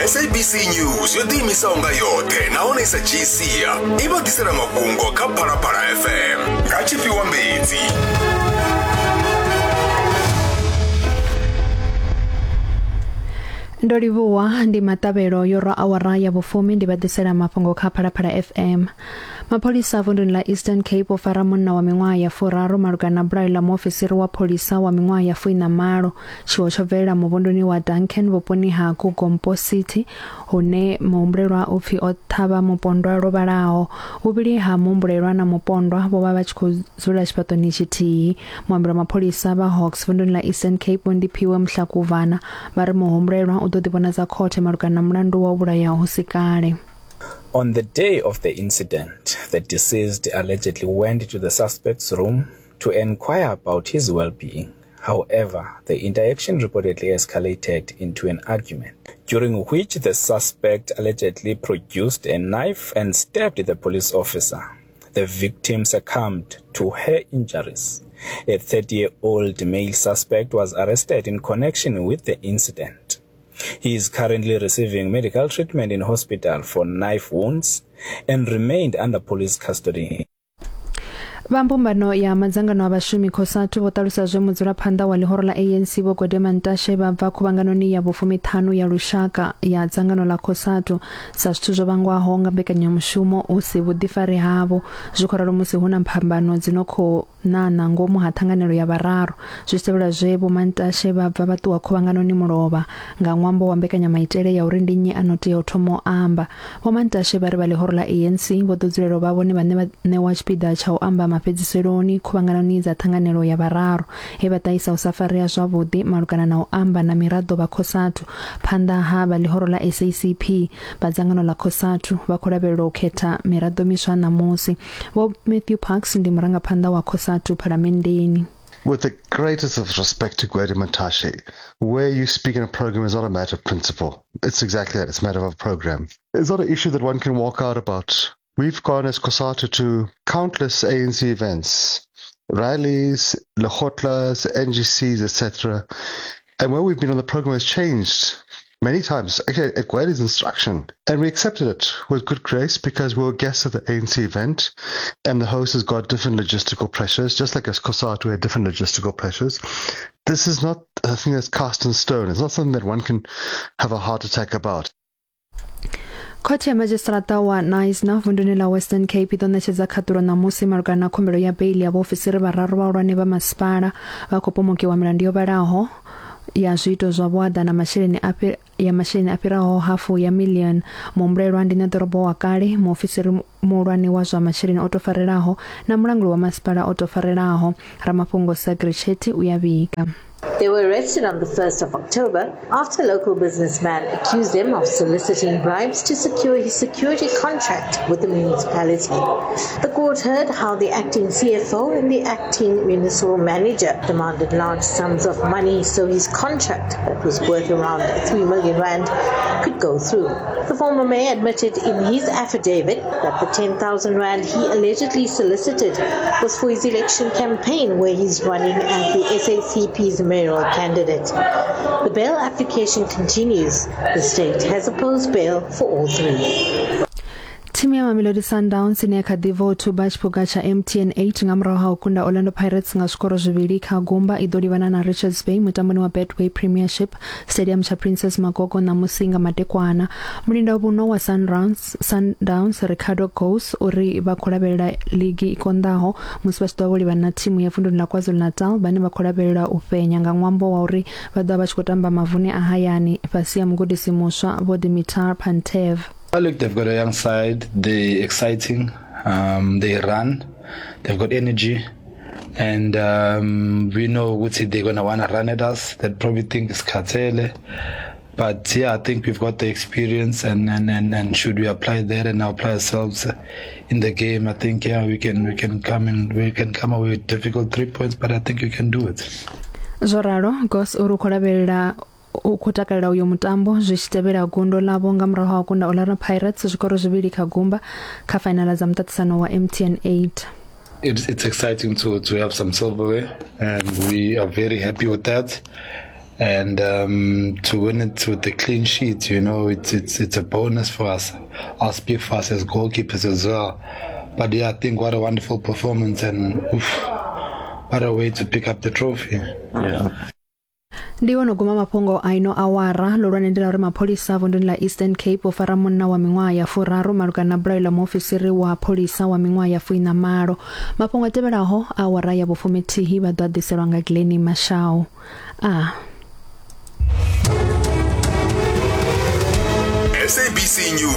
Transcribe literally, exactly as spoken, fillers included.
S A B C News yo ḓiimisaho nga yoṱhe nahone i sa dzhii sia i vha ḓisela mafhungo kha Phalaphala F M nga Tshifhiwa Mbedzi. Ndo livhuwa ndi maṱavhelo yo rwa awara ya vhufumi ndi vha ḓisela mafhungo kha Phalaphala F M. Mapholisa vunduni ḽa Eastern Cape o fara munna wa miṅwaha ya furaru malugana na bulayo ḽa muofisiri wa pholisa wa miṅwaha ya fuiṋa malo. Tshiwo tsho bvelela muvhunduni wa Duncan vhuponi ha Kugompo City hune muhumbulelwa u pfi o ṱhavha mupondwa lwo vhalaho. Vhuvhili ha muhumbulelwa na mupondwa vho vha vha tshi khou dzula tshifhaṱoni tshithihi. Muambeli wa mapholisa vha Hawks vunduni ḽa Eastern Cape Vho Ndiphiwe Mhlakuvana vha ri muhumbulelwa u ḓo ḓivhonadza khothe malugana na mulandu wa u vhulaya hu si kale. On the day of the incident, the deceased allegedly went to the suspect's room to inquire about his well-being. However, the interaction reportedly escalated into an argument, during which the suspect allegedly produced a knife and stabbed the police officer. The victim succumbed to her injuries. A thirty-year-old male suspect was arrested in connection with the incident. He is currently receiving medical treatment in hospital for knife wounds and remained under police custody. Vha mbumbano ya madzangano a vhashumi COSATU vho ṱalusa zwe mudzulaphanḓa wa ḽihoro ḽa A N C Vho Gwede Mantashe vha bva khuvhanganoni ya vhufumiṱhanu ya lushaka ya dzangano ḽa COSATU sa zwithu zwo vhangwaho nga mbekanyamushumo hu si vhuḓifari havho. Zwi khou ralo musi hu na phambano dzi no khou ṋaṋa ngomu ha ṱhanganelo ya vhararu. Zwi tshi tevhela zwe Vho Mantashe vha bva vha ṱuwa khuvhanganoni mulovha nga ṅwambo wa mbekanyamaitele ya uri ndi nnyi a no tea u thoma u amba. Vho Mantashe vha ri vha ḽihoro ḽa A N C vho ḓo dzulela u vha vhone vhane vha ṋewa tshipiḓa tsha u amba mafhedziseloni khuvhanganoni dza ṱhanganelo ya vhararu he vha ṱahisa u sa farea zwavhuḓi malugana na u amba na miraḓo vha COSATU phanḓa ha vha ḽihoro ḽa S A C P. Vha dzangano ḽa COSATU vha khou lavhelelwa u khetha miraḓo miswa ṋamusi. Vho Matthew Parks ndi murangaphanḓa wa COSATU phalamenndeni. With the greatest of respect to Gwede Mantashe, where you speak in a program is not a matter of principle. It's exactly that. It's a matter of a program. It's not an issue that one can walk out about. We've gone as COSATU to countless A N C events, rallies, lekgotlas, N G Cs, et cetera. And where we've been on the program has changed many times, actually at Gwede's instruction. And we accepted it with good grace because we were guests at the A N C event and the host has got different logistical pressures, just like as COSATU had different logistical pressures. This is not a thing that's cast in stone. It's not something that one can have a heart attack about. Khothe ya madzhisiṱiraṱa wa Knysna vunduni ḽa Western Cape i ḓo ṋetshedza khaṱulo ṋamusi malugana na khumbelo ya beili ya vhaofisiri vhararu vhahulwane vha masipala vha khou pomokiwa milandu yo vhalaho ya zwiito zwa vhuaḓa na masheleni a ya masheleni a fhiraho hafu ya million. Muhumbulelwa ndi ṋeḓorobo wa kale, muofisiri muhulwane wa zwa masheleni o tou farelaho na mulanguli wa masipala o tou farelaho. Ramafhungo Sagri Chetty u ya vhiga. They were arrested on the first of October after a local businessman accused them of soliciting bribes to secure his security contract with the municipality. The court heard how the acting C F O and the acting municipal manager demanded large sums of money so his contract, that was worth around three million rand, could go through. The former mayor admitted in his affidavit that the ten thousand rand he allegedly solicited was for his election campaign, where he's running as the S A C P's mayoral candidate. The bail application continues. The state has opposed bail for all three. Thimu ya Mamelodi Sundowns ine ya kha ḓi bva u thuba tshiphuga tsha M T N eight nga murahu ha u kunda Orlando Pirates nga zwikoro zwivhili kha gumba i ḓo livhana na Richards Bay mutamboni wa Betway Premiership Stadium tsha Princess Magogo ṋamusi nga madekwana. Mulinda vhuno wa Sundowns, Sundowns Ricardo Goes uri vha khou lavhelela ligi i konḓaho musi vha tshi ḓo vha vho livhana na thimu ya vunduni ḽa KwaZulu-Natal vhane vha khou lavhelela u fhenya nga ṅwambo wa uri vha ḓo vha vha tshi khou tamba mavuni a hayani fhasi ha mugudisi muswa Vho Dimitar Pantev. Look, they've got a young side. They're exciting. Um, they run. They've got energy. And um, we know Guti, they're going to want to run at us. They probably think it's Katele. But yeah, I think we've got the experience, and, and, and, and should we apply that and apply ourselves in the game, I think yeah, we can we can come and we can come away with difficult three points, but I think we can do it. Zwo ralo, Goss uri u khou lavhelela u khou takalela uyo mutambo zwi tshi tevhela gundo ḽavho nga murahu ha u kunda Orlando Pirates zwikoro zwivhili kha gumba kha fainala dza muṱaṱisano wa M T N eight. It's, it's exciting to, to have some silverware, and we are very happy with that. And um, to win it with a clean sheet, you know, it's it's it's a bonus for us. I'll speak for us as goalkeepers as well. But yeah, I think what a wonderful performance, and oof, what a way to pick up the trophy. Yeah. Ndi wono guma mafhungo a ino awara lolwane ndi la uri mapholisa vunduni la Eastern Cape vho fara munna wa miṅwaha ya furaru malugana na bulayo ḽa muofisiri wa pholisa wa miṅwaha ya fuiṋa malo. Mafhungo a tevhelaho awara ya vhufumithihi vha ḓo a ḓiselwa nga Glennie Mashau. A S A B C News.